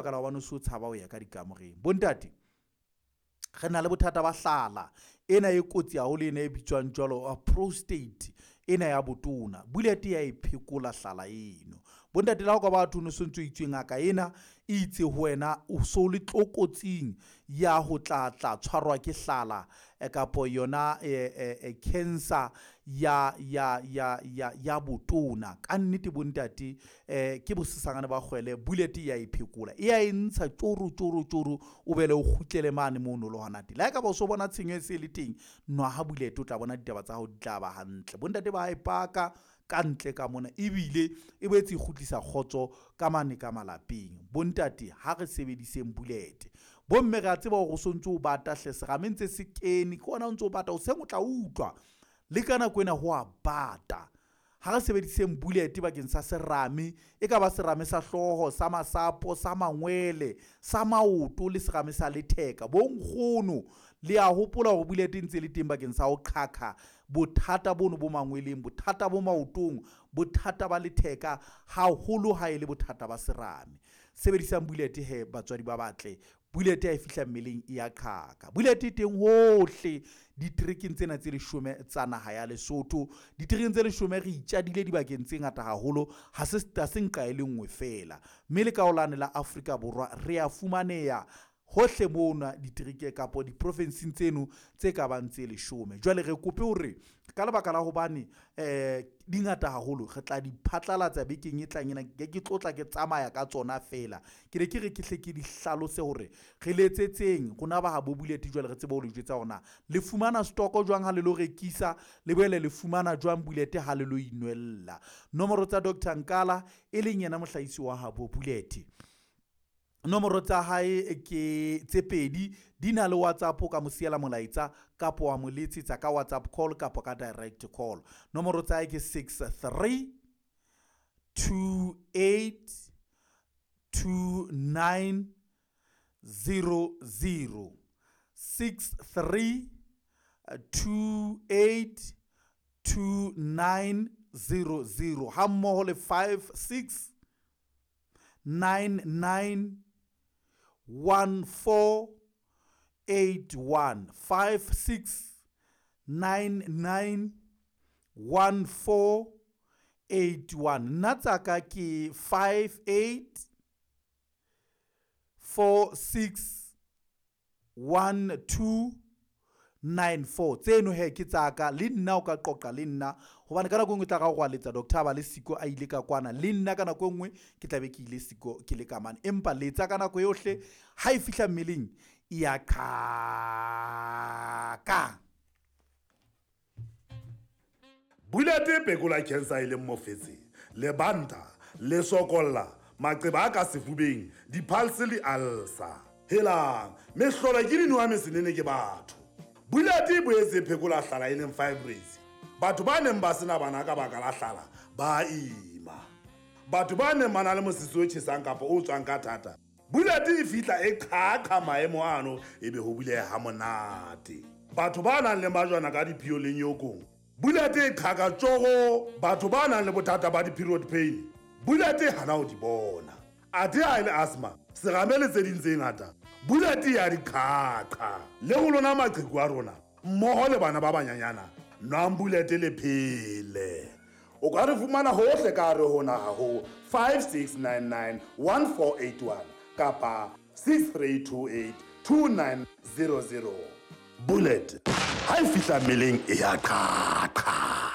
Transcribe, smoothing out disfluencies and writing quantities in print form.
Baka la hobane o so tshaba ho ya ka dikamoreng. Bontate, re na le bothata ba hlala ena e kotsi haholo, ena e bitswang jwalo prostate ena ya botona. Bullet ya e phekola hlala eno. Bontate, le ha o ka ba batho o no sontso itswe ngaka ena e itse ho wena o so le tlokotsing ya ho tla tla tshwarwa ke hlala kapo yona cancer ya botona. Ka nnete bontate, ke bosesangane ba kgwele. Bullet ya e phekola, e ya e ntsha tjoro tjoro tjoro, o bele o kgutlele mane mono le hona teng. Le ha ekaba o so bona tshenyo e se le teng, nwa ha bullet, o tla bona ditaba tsa hao di tla ba hantle. Bontate ba e paka ka ntle ka mona, ebile e boetse e kgutlisa kgotso ka mane ka malapeng. Bontate, ha re sebediseng bullet. Bomme, re a tseba hore o sontso o bata hle, serame ntse se kene ke ona o ntso o bata hoseng, o tla utlwa le ka nako ena ho a bata. Ha re sebediseng bullet bakeng sa serame, e ka ba serame sa hlooho, sa masapo, sa mangwele, sa maoto le serame sa letheka. Bonkgono, le a hopola hore bullet e ntse le teng bakeng sa ho qhaqha bothata bono bo mangweleng, bothata bo maotong, bothata ba letheka, haholo ha e le bothata ba serame. Sebedisang bullet he, batswadi ba batle. Bullet ha e fihla mmeleng e ya qhaka. Bullet e teng hohle diterekeng tsena tse 10 tsa naha ya Lesotho. Diterekeng tse 10 re itjadile dibakeng tse ngata haholo, ha se nqa e le nngwe feela. Mme le ka holane la Afrika Borwa re a fumaneha hohle mona ditereke kapo diprofensing tseno tse ka bang tse 10. Jwale re kope hore ka lebaka la hobane di ngata haholo, re tla di phatlalatsa bekeng e tlang ena. Ke tlotla ke tsamaya ka tsona feela. Ke ne ke re ke hle ke di hlalose hore re letsetseng rona ba habo bullet. Jwale re tsebe ho le jwetsa hore na le fumana stoko jwang ha le lo rekisa, le boele le fumana jwang bullet ha le lo inwella. Nomoro tsa Dr Nkala, e leng yena mohlahisi wa habo bullet, nomoro tsa hae ke tse pedi, di na le WhatsApp, ka mo siela molaetsa kapo wa mo letsetsa ka WhatsApp call kapo ka direct call. Nomoro tsa hae ke 63 28 29 00, 63 28 29 00, ha mmoho le 56 99 14 81, 56 99 14 81. Nna tsaka ke 58 46 12 94. Tseno he ke tsaka, le nna o ka qoqa le nna, hobane ka nako e nngwe tla ga go letsa doctor ba le siko a ile ka kwana, le nna ka nako e nngwe ke tla be ke ile siko ke le ka mane, empa letsa ka nako yohle. Ha e fihla mmeleng e ya qhaka. Bullet e phekola cancer e leng mofetshe, lebanta, le sokolla, maqeba a ka sefubeng, di-pulse le ulcer. Helang, mehlolo ke dinowa mesenene ke batho. Bullet e boetse e phekola hlala e leng fibroids. Batho ba neng ba sena bana ka baka la hlala ba ima. Batho ba neng ba na le mosese o tjhesang kapa o tswang ka thata, bullet e fihla e qhaqha maemo ano, ebe ho buleha ha monate. Batho ba nang le majwana ka diphio le nyokong, bullet e qhaka tjoro. Batho ba nang le bothata ba di-period pain, bullet e hana ho di bona. Athe ha e le asthma, serame le tse ding tse ngata, bullet ya di qhaqha. Le ho lona maqheku a rona mmoho le bana ba banyanyana, nwang bullet le phele. O ka re fumana hohle ka hare ho naha ho 5699 1481 kapa 6328 2900. Bullet ha e fihla mmeleng e ya qhaqha.